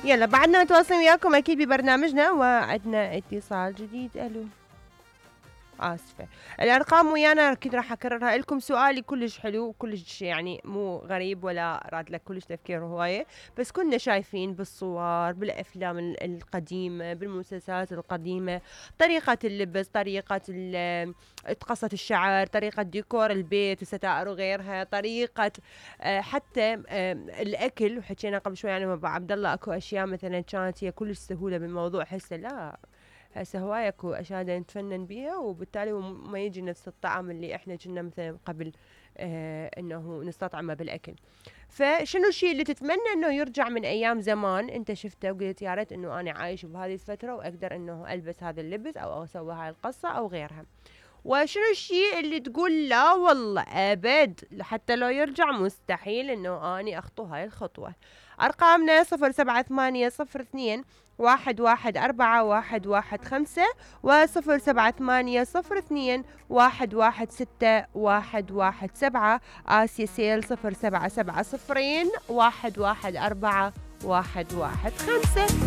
يلا بعدنا نتواصل وياكم أكيد ببرنامجنا، وعدنا اتصال جديد. ألو، آسفة. الأرقام ويانا أكيد راح أكررها لكم. سؤالي كلش حلو وكلش يعني مو غريب ولا راد لك كلش تفكير هواية، بس كنا شايفين بالصور بالأفلام القديمة بالمسلسلات القديمة طريقة اللبس، طريقة قصة الشعر، طريقة ديكور البيت الستائر وغيرها، طريقة حتى الأكل. وحكينا قبل شوي يعني مع أبو عبد الله أكو أشياء مثلا كانت هي كلش سهولة بالموضوع، هسه لا، هسه هواي اكو اشياء نتفنن بيها وبالتالي ما يجي نفس الطعم اللي احنا كنا مثلا قبل انه نستطعمه بالاكل. فشنو الشيء اللي تتمنى انه يرجع من ايام زمان انت شفته وقلت يا ريت انه انا عايش بهذه الفتره واقدر انه البس هذا اللبس او اسوي هاي القصه او غيرها؟ وشنو الشيء اللي تقول لا والله ابد حتى لو يرجع مستحيل انه اني اخطو هاي الخطوه؟ ارقامنا 07802 114115 و07802 116117 آسيا سيل 0770 114 115.